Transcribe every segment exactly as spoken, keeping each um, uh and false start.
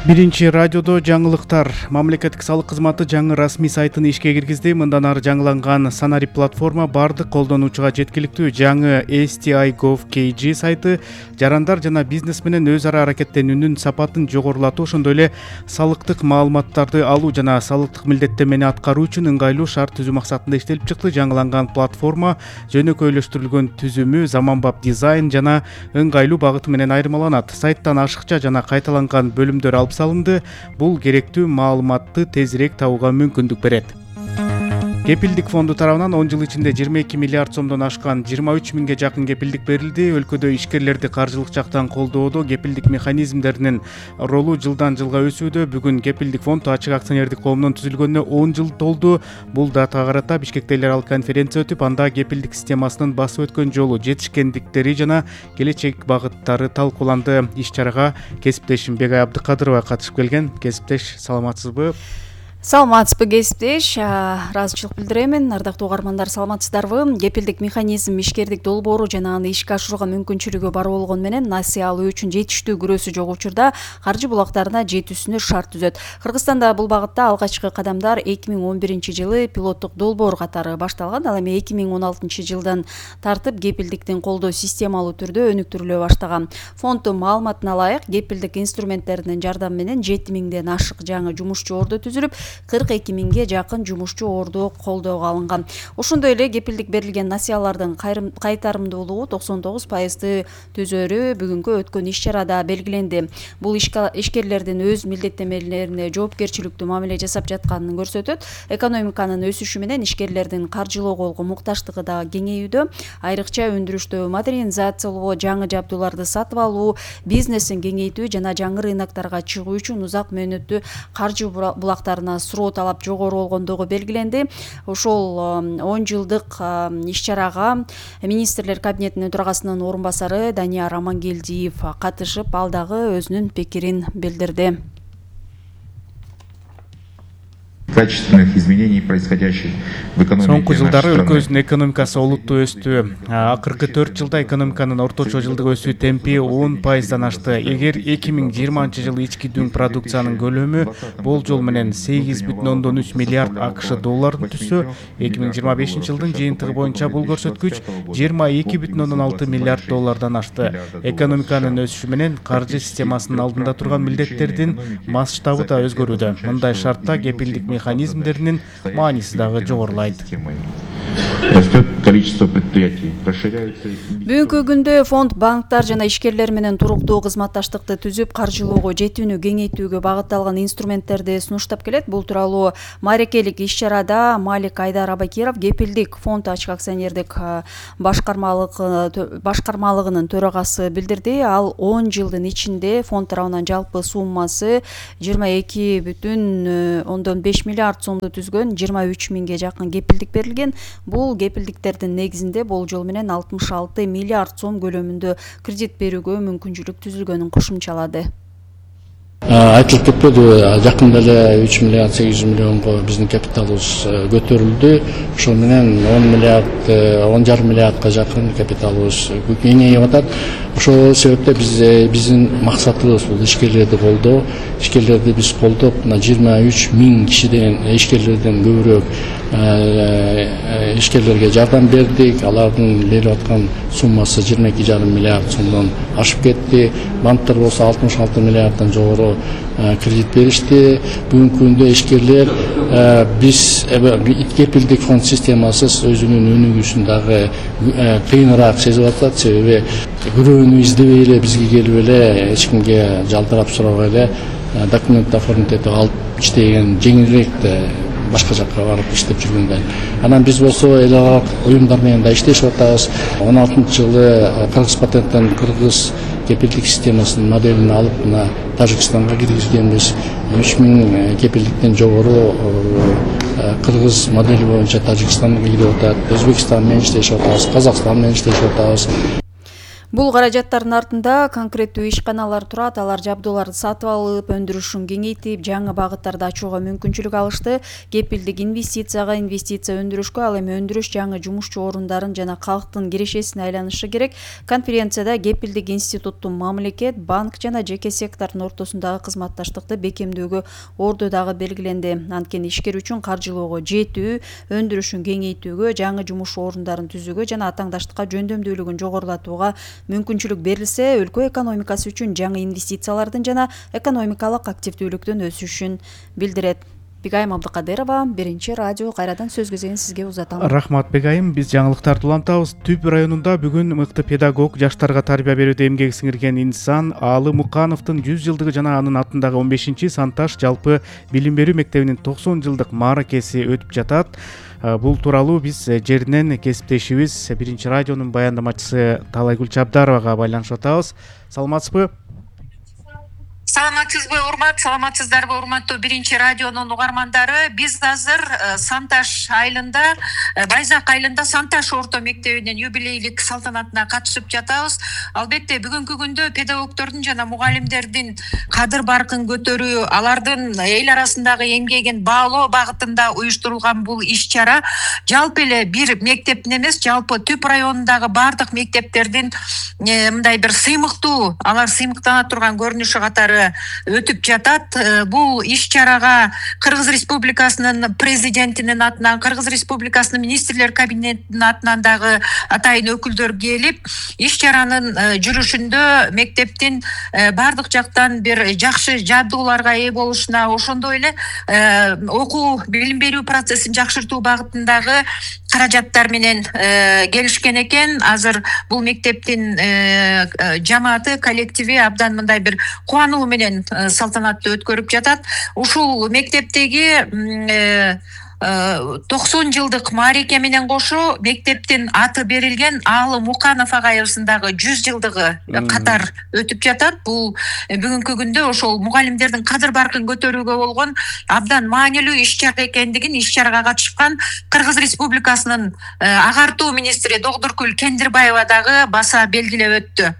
Биринчи радиодо жаңылыктар. Мамлекеттик салык кызматы жаңы расмий сайтын ишке киргизди. Мындан ары жаңыланган Санари платформа бардык колдонуучуга жеткиликтүү. Жаңы эс ти ай гов кей джи сайты жарандар жана бизнес менен өз ара аракеттенүүнүн сапатын жогорулатуу, ошондой эле салыктык маалыматтарды алуу жана салыктык милдеттенмени аткаруу үчүн ыңгайлуу шарт түзүү максатында иштелип чыкты. Жаңыланган платформа жөнөкөйлөштүрүлгөн түзүмү, заманбап дизайн жана ыңгайлуу багыты менен айырмаланат. Сайттан ашыкча жана кайталанган бөлүмдөр алып салынды. Бул керектүү маалыматты тезирээк табууга мүмкүндүк берет. Кепилдик фонду тарабынан он жыл ичинде жыйырма эки миллиард сомдон ашкан жыйырма үч миңге жакын кепилдик берилди. Өлкөдө ишкерлерди каржылык жактан колдоодо кепилдик механизмдеринин ролу жылдан жылга өсүүдө. Бүгүн Кепилдик фонд ачык акционердик коомунун түзүлгөнүнө он жыл толду. Бул датага карата Бишкекте эл аралык конференция өтүп, анда кепилдик системасынын басып өткөн жолу, жетишкендиктери жана келечек багыттары талкууланды. Иш-чарага кесиптешим Бегай Абдыкадырова катышып келген. Кесиптеш, саламатсызбы? Саламатсызбы кесиптеш, ыраазычылык билдирем. Ардактуу угармандар, саламатсыздарбы? Кепилдик механизм ишкердик долбоору жана аны ишке ашырууга мүмкүнчүлүгү бар болгону менен насыя алуу үчүн жетиштүү күрөөсү жок учурда каржы булактарына жетүүсүнө шарт түзөт. Кыргызстанда бул багытта алгачкы кадамдар эки миң он биринчи жылы пилоттук долбоор катары башталган. Ал эми эки миң он алтынчы жылдан тартып кепилдиктин колдоо системалуу түрдө өнүктүрүлө баштаган. Фонддун маалыматына ылайык, кепилдик инструменттеринин жардамы менен жети миңден ашык жаңы жумушчу ордо түзүлүп, кырк эки миңге жакын жумушчу ордо колдоого алынган. Ошондой эле кепилдик берилген насыялардын кайтарымдуулугу токсон тогуз пайызды түзөрү бүгүнкү өткөн иш-чарада белгиленди. Бул ишкерлердин өз милдеттенмелерине жоопкерчиликтүү мамиле жасап жатканын көрсөтөт. Экономиканын өсүшү менен ишкерлердин каржылоого мукташтыгы да кеңейүүдө. Айрыкча өндүрүштү модернизациялоо, жаңы жабдууларды сатып алуу, бизнесин кеңейтүү жана жаңы рыноктарга чыгуу үчүн узак мөөнөттүү каржы булактарына суроо талап жогору болгондугу белгиленди. Ошол он жылдык иш-чарага министрлер кабинетинин төрагасынын орун басары Данияр Амангелдиев катышып, ал дагы өзүнүн пикирин билдирди. Качественных изменений, происходящих в экономике. Соңку жылдары өлкөбүздүн экономикасы олуттуу өстү. Акыркы төрт жылда экономиканын орточо жылдык өсүү темпи он пайыздан ашты. Эгер эки миң жыйырманчы жылы ички дүң продукциянын көлөмү болжол менен сегиз бүтүн ондон үч миллиард акш долларын түзсө, эки миң жыйырма бешинчи жылдын жыйынтыгы боюнча бул көрсөткүч жыйырма эки бүтүн ондон алты миллиард доллардан ашты. Экономиканын өсүшү менен каржы системасынын алдында турган милдеттердин масштабы да өзгөрүүдө. Мындай шартта кепилдик механизмдеринин мааниси дагы жогорулайт. Растет количество предприятий, расширяются. Бүгүнкү күндө фонд банктар жана ишкерлер менен туруктуу кызматташтыкты түзүп, каржылоого жетүүнү кеңейтүүгө багытталган инструменттерди сунуштап келет. Бул тууралуу маарекелик иш-чарада Малик Айдар Абакиров, Кепилдик фонд ачык акционердик башкармалык башкармалыгынын төрагасы билдирди. Ал он жылдын ичинде фонд тарабынан жалпы суммасы жыйырма эки бүтүн ондон беш миллиард сомду түзгөн, жыйырма үч миңге жакын кепилдик берилген. Бул кепилдиктердин негизинде болжол менен алтымыш алты миллиард сом көлөмүндө кредит берүүгө мүмкүнчүлүк түзүлгөнүн кошумчалады. Айтылып кетпеди, жакында эле үч миллиард сегиз жүз миллионго биздин капиталыбыз көтөрүлдү. Ошол менен он миллиард, он жарым миллиардка жакын капиталыбыз кеңейип атат. Ошол себептен биз биздин максатыбыз бул ишкерлерди колдоо. Ишкерлерди биз колдоп, мына жыйырма үч миң кишиден ишкерлерден көбүрөөк ишкерлерге жардам бердик. Алардын берип аткан суммасы жыйырма эки жарым миллиард сомдон ашып кетти. Банктар болсо алтымыш алты миллиарддан жогору кредит беришти. Бүгүнкү күндө ишкерлер биз кепилдик фонд системасы өзүнүн өнүгүүсүн дагы кыйыныраак сезип атат. Себеби күрөөнү издебей эле бизге келип эле эч кимге жалтырап сурабай эле документ оформить этип алып иштеген жеңилирээк башка жакка барып иштеп жүргөндөн. Анан биз болсо эл аралык уюмдар менен да иштешип атабыз. он алтынчы жылы Кыргыз патенттен Кыргыз кепилдик системасынын моделин алып, мына Тажикстанга киргизгенбиз. үч миң кепилдиктен жогору Кыргыз модели боюнча Тажикстанга кирип атат, Өзбекстан менен иштешип атабыз, Казакстан менен иштешип атабыз. Бул каражаттардын артында конкреттүү ишканалар турат. Алар жабдууларды сатып алып, өндүрүшүн кеңейтип, жаңы багыттарды ачууга мүмкүнчүлүк алышты. Кепилдик инвестицияга, инвестиция өндүрүшкө, ал эми өндүрүш жаңы жумушчу орундарын жана калктын кирешесине айланышы керек. Конференцияда кепилдик институттун мамлекет, банк жана жеке сектордун ортосундагы кызматташтыкты бекемдөөгө орду дагы белгиленди. Анткени ишкер үчүн каржылоого жетүү, өндүрүшүн кеңейтүүгө, жаңы жумуш орундарын түзүүгө жана атаңдаштыкка жөндөмдүүлүгүн жогорулатууга мүмкүнчүлүк берилсе, өлкө экономикасы үчүн жаңы инвестициялардын жана экономикалык активдүүлүктүн өсүшүн билдирет. Бегайым Абдыкадырова, Биринчи радио, кайрадан сөз кезегин сизге узатам. Рахмат Бегайым. Биз жаңылыктарды улантабыз. Түп районунда бүгүн мыкты педагог, жаштарга тарбия берүүдө эмгеги сиңирген инсан Аалы Мукановдун жүз жылдыгы жана анын атындагы он бешинчи Санташ жалпы билим берүү мектебинин токсон жылдык мааракеси өтүп жатат. Бул тууралуу биз жеринен кесиптешибиз Биринчи радионун баяндамачысы Талайгүл Чабдаровага байланышып атабыз. Саламатсызбы? Саламатсызбы, урмат, саламатсыздарбы, урматтуу Биринчи радионун угармандары. Биз азыр Санташ айылында, Байзак айылында Санташ орто мектебинин юбилейлик салтанатына катышып жатабыз. Албетте бүгүнкү күндө педагогдордун жана мугалимдердин кадыр баркын көтөрүү, алардын эл арасындагы эмгегин баалоо багытында уюштурулган бул иш-чара жалпы эле бир мектептин эмес, жалпы Түп районундагы бардык мектептердин мындай бир сыймыктуу, алар сыймыктана турган көрүнүшү катары өтүп жатат. Бул иш-чарага Кыргыз Республикасынын президентинин атынан, Кыргыз Республикасынын министрлер кабинетинин атынан дагы атайын өкүлдөр келип, иш-чаранын жүрүшүндө мектептин бардык жактан бир жакшы жабдууларга ээ болушуна, ошондой эле окуу билим берүү процессин жакшыртуу багытындагы каражаттар менен келишкен экен. Азыр бул мектептин жамааты, коллективи абдан мындай бир кубануу менен салтанатты өткөрүп жатат. Ушул мектептеги токсон жылдык маареке менен кошо мектептин аты берилген Аалы Муканов агайыбыздагы жүз жылдыгы катар өтүп жатат. Бул бүгүнкү күндө ошол мугалимдердин кадыр баркын көтөрүүгө болгон абдан маанилүү иш-чара экендигин иш-чарага катышкан Кыргыз Республикасынын агартуу министри Догдуркүл Кендирбаева дагы баса белгилеп өттү.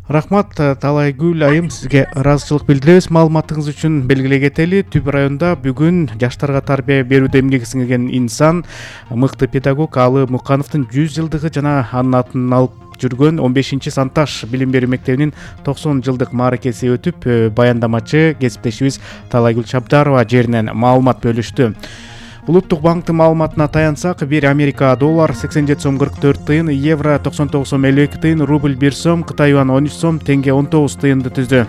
Рахмат Талайгүл айым, сизге ыраазычылык билдиребиз маалыматыңыз үчүн. Белгилей кетели, Түп районунда бүгүн жаштарга тарбия берүүдө эмгеги сиңирген инсан, мыкты педагог Аалы Мукановдун жүз жылдыгы жана анын атын алып жүргөн он бешинчи Санташ билим берүү мектебинин токсон жылдык мааракеси өтүп, баяндамачы кесиптешибиз Талайгүл Чабдарова жеринен маалымат бөлүштү. Улуттук банктын маалыматына таянсак, бир Америка доллар сексен жети сом кырк төрт тыйын, евро токсон тогуз сом элүү эки тыйын, рубль бир сом, Кытай юаны он үч сом, теңге он тогуз тыйынды түздү.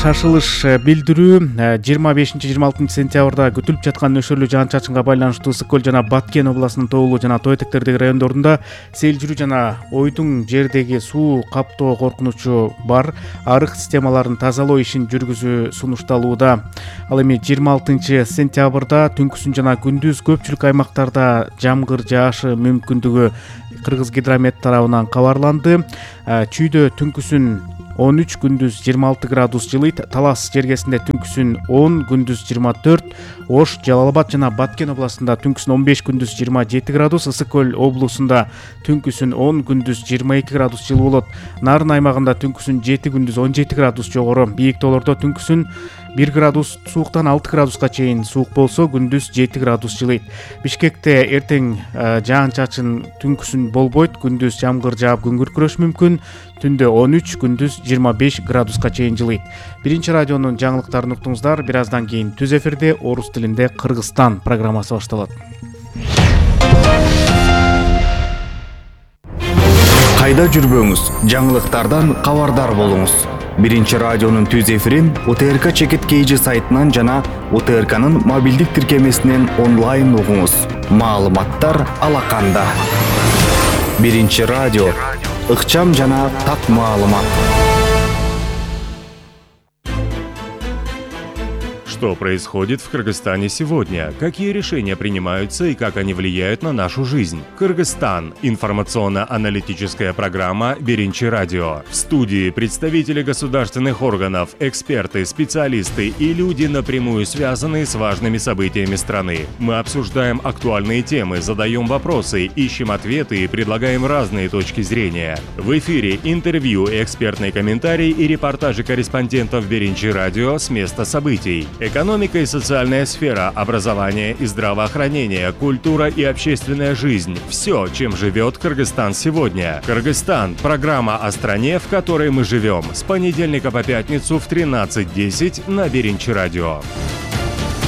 Шашылыш билдирүү жыйырма бешинчи жыйырма алтынчы сентябрда күтүлүп жаткан нөшөрлүү жаан-чачынга байланыштуу Ысык көл жана Баткен областынын тоолуу жана тоо этектердеги райондорунда сел жүрүү жана ойдуң жердеги суу каптоо коркунучу бар. Арык системаларын тазалоо ишин жүргүзүү сунушталууда. Ал эми жыйырма алтынчы сентябрда түнкүсүн жана күндүз көпчүлүк аймактарда жамгыр жаашы мүмкүндүгү Кыргыз гидромет тарабынан кабарланды. Чүйдө түнкүсүн он үч, күндүз жыйырма алты градус жылыйт. Талас жергесинде түнкүсүн он, күндүз жыйырма төрт. Ош, Жалал Абад жана Баткен областында түнкүсүн он беш, күндүз жыйырма жети градус. Ысык көл облусунда түнкүсүн он, күндүз жыйырма эки градус жылуу болот. Нарын аймагында түнкүсүн жети, күндүз он жети градус жогору. Бийик тоолордо түнкүсүн бир градус сууктан алты градуска чейин суук болсо, күндүз жети градус жылыйт. Бишкекте эртең жаан-чачын түнкүсүн болбойт, күндүз жамгыр жаап күн күркүрөшү мүмкүн. Түндө он үч, күндүз жыйырма беш градуска чейин жылыйт. Биринчи радионун жаңылыктарын уктуңуздар. Бир аздан кийин түз эфирде орус тилинде Кыргызстан программасы башталат. Кайда жүрбөңүз, жаңылыктардан кабардар болуңуз. Биринчи радионун түз эфирин У Т Р К Чекит Кейжи сайтынан жана У Т Р К'нын мобилдик тиркемесинен онлайн угуңуз. Маалыматтар алаканда. Биринчи радио, ыкчам жана так маалымат. Что происходит в Кыргызстане сегодня? Какие решения принимаются и как они влияют на нашу жизнь? Кыргызстан. Информационно-аналитическая программа «Биринчи радио». В студии представители государственных органов, эксперты, специалисты и люди, напрямую связанные с важными событиями страны. Мы обсуждаем актуальные темы, задаем вопросы, ищем ответы и предлагаем разные точки зрения. В эфире интервью, экспертные комментарии и репортажи корреспондентов «Биринчи радио» с места событий. Экономика и социальная сфера, образование и здравоохранение, культура и общественная жизнь – все, чем живет Кыргызстан сегодня. Кыргызстан – программа о стране, в которой мы живем. С понедельника по пятницу в тринадцать десять на Биринчи радио.